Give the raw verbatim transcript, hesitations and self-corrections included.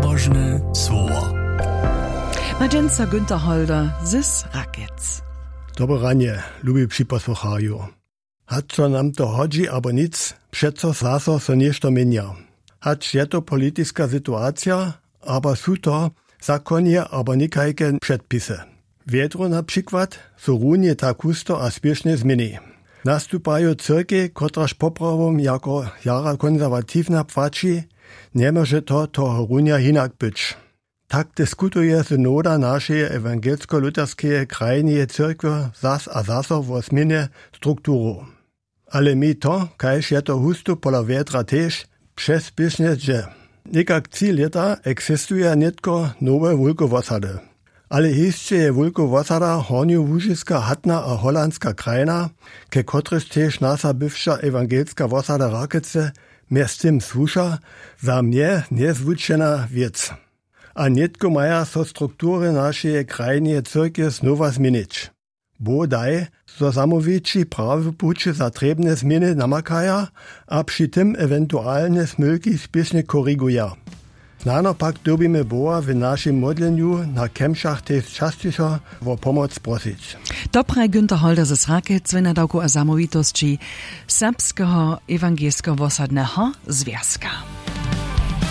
Pobožne słowo. Ma dźensa Günter Holder z Rakec. Dobre ranje, lubi připosłucharju. Hač so nam to hodźi abo nic, přeco zaso so něšto měnja. Hač je to politiska situacija, abo su to zakonje abo někajke předpisy. Wjedru na přikład su runje tak husto a spěšnje změni. Nastupajo cyrkej, kotraž poprawom jako jara konserwatiwna płaći, njemóže to toho runja hinak być. Tak diskutuje synoda našeje ewangelsko-lutherskeje krajneje cyrkwje zas a zaso wo změnje strukturow. Ale mi to, kaž je to hustu pola wjedra tež, přespěšnje dźe. Někak tři lěta eksistuje nětko nowe wulkowosady. Ale hišće je wulkowosada hornjołužiska hatna a holandska krajna, ke kotryž tež nasa bywša ewangelska wosada Rakece mjez tym słuša, za mnje njezwučena wěc. A nětko maja so struktury našeje krajneje cyrkwje znowa změnić. Bodaj, zo zamołwići prawy puć za trěbne změny namakaja a při tym ewentualne smylki spěšnje koriguja. Snano pak dyrbimy Boha w našim modlenju na kemšach tež časćišo wo pomoc prosić. To praji Günter Holder ze Srakec w nadawku a zamołwitosći Serbskeho ewangelskeho wosadneho zwjazka.